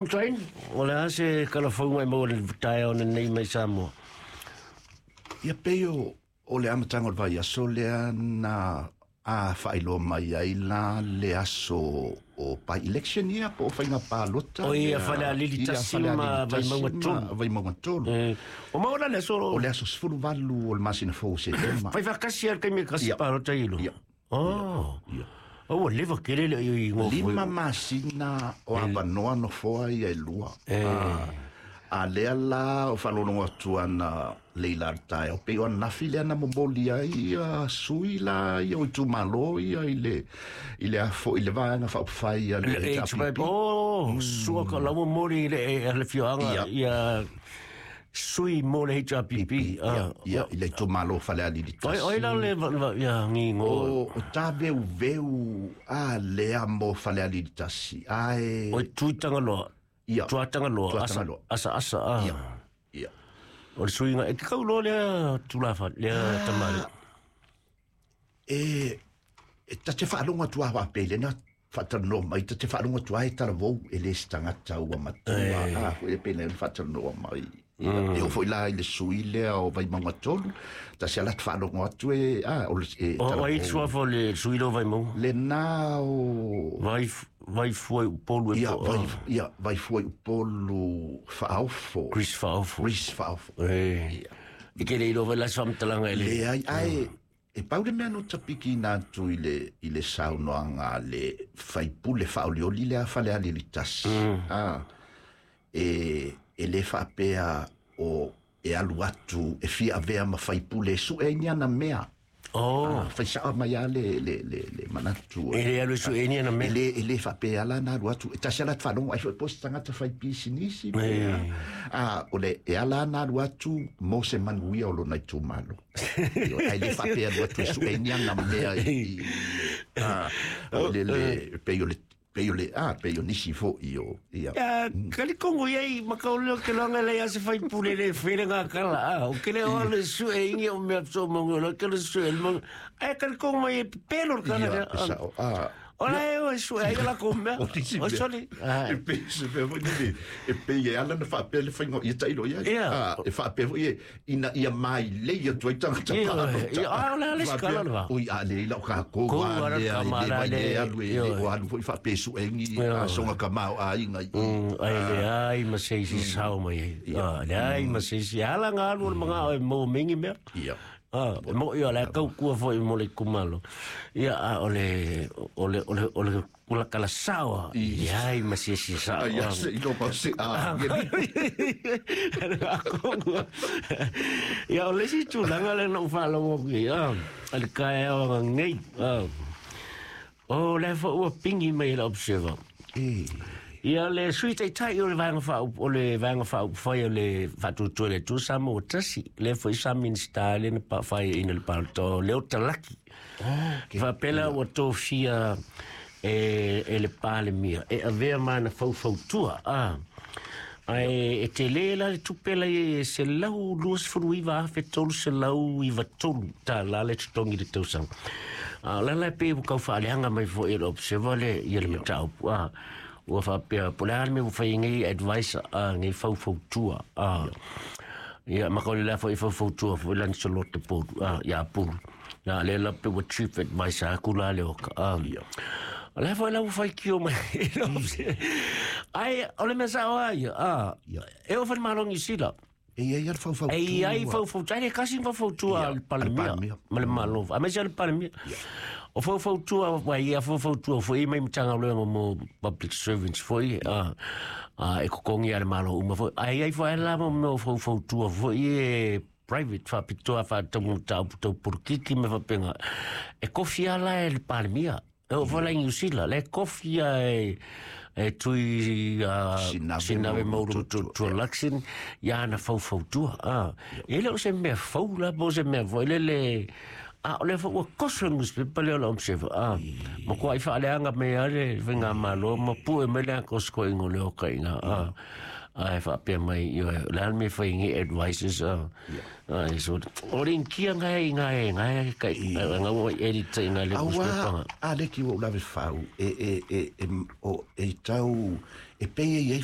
Train, o le a se kalafauga e maua i le taeao lenei mai Samoa? Ia pei o le amataga o le vaiaso lea na faailoa mai ai la le aso o by-election ia po o faiga palota. O ia Falealili 1 ma Vaimauga 3. Vaimauga 3. O maua la le aso? O le aso 18 o le masina fou o Setema. Fai faatasi lava le taimi e kasi palota i lo. Ia. Oh. Ia. Ua leva tele le i ngofo. 5 masina o avanoa nofoa ia e 2. A lea la o faalologo atu ana leila le taeao pei o anafi lea na momoli ai ia sui la ia o itumalo ia i le afo i le vaega faaupufai a le HRPP. Oh, sua ka lau momoli i le fioaga ia sui mo le HRPP. Ia, i le itumalo Falealili 1. Oi la le ia ngingo. O ta veuveu a lea mo Falealili 1. Ae o Tuitangaloa. Ia. Tuatangaloa, asa asa. Ia. Ia. O le suiga, e te kauloa lea tulafa, lea tamale. E ta te faalogo atu a faapea lena faatalanoa mai, ta te faalogo atu a e talavou e le se tagata ua matua. A foi e pei ona faatalanoa mai. E oo foi la i le sui lea o Vaimauga 3, tasi ala te faalogo atu e o le e O ai suafa o le sui lea o Vaimauga? Lena o Vaifua i Upolu e po. Ia, Vaifua i Upolu Faaofo. Chris Faaofo. Chris Faaofo. E ke le iloa la se faamatalaga e le. Leai, ae e pau le mea no tapiki ina atu i le saunoaga a le faipule faaolioli lea Falealili 1. E le faapea o e alu atu e fia avea ma faipule e sue ai ni ana mea. Oh. Fai sao mai a le manatu. E le alu e sue ni ana mea. E le faapea la na alu atu. E tasi ala te faalogo ai foi po se tagata fai pisinisi. O le e ala na alu atu mo se manuia o lona itumalo. Ai le faapea alu atu e sue ni ana mea i o le pei o le pei o nisi foi o ia. Kalikongo iai makauleo ke loanga le ase fai pule le fere ngā kala. O ke le o le sue ingi o mea so mongo lo ke le sue mo. Ai kalikongo mai e pelo kana. Ia, sao. O la e o sue ai la ko mea. O soli. E pei se mea foi nele. E pei e ala na faapea le fainga ia tailo ia. E faapea foi e ina ia mai le ia tuai tangata palota. Ia, o le ale skala le va. Oi a le ila o ka ko wa le a le vai le alu e le o alu foi faapea suengi a songa ka mau a inga i. Ai le ai ma se isi sao mai ai. Le ai ma se isi ala ngā alu o le mga o e mo mingi mea. Ia. Mo ia le kau kua foi mo le kumalo. Ia o le kula kala sawa. Ia ai ma se isi sawa. Ia se ilo pa se a. Ia o le si tulaga le na ufaalongo ki. Ale kae o ngei. O le fo ua pingi mai le Observer. Ia le sui taitai o le vaega faa o le vaega faaupufai o le faatuatua le Atua Samoa tasi le foi sa Minista le na paafai ina le palota o Leo Talaki. Faapea la ua tofia e le Palemia e avea ma na faufautua. Ae e tele la le tupe la e $129,393 tālā le totogi le tausaga. La la pe ua kau faaleaga mai foi e le Observer le ia le mataupu. Ua faapea po le a le mea ua fai nei advice nei faufautua. Ia makauli la foi faufautua foi Lancelot te Polu ia Pulu. Na le la pe ua chief advisor aku la le oka. La foi la ua fai kio mai. Ai o le mea sao ai. E o fai malongi sila. E ai al faufautua. E ai faufautua. Ai le kasi faufautua al Palemia. Ma le malo. A mea al Palemia. O faufautua wa ia faufautua foi mai mtanga loenga mo public servants foi e kokongi ale malo uma foi. Ai ai foi la mo faufautua foi e private faapitoa faatamu taupu tau porokiki me faapega. E kofi ala e le Palemia. E o fala i New Zealand, le kofi e tui Sinave Mauru Tua Luxon, ia ana faufautua. E le o se mea fau la, po se mea foi le le o le ua koso le newspaper lea o le Observer. Ma kua i faaleaga me ale faiga malo ma pue mai le akosko ingo le oka inga. Ae faapea mai, ioe, o le a le mea e fai ai nei advisors a? Ae so, o le initia gae i gae, gae kai, ga ua edit i gae le Auā, a le ki ua ou lave fau, e, e, e, e, o, e tau, e pei e i ai.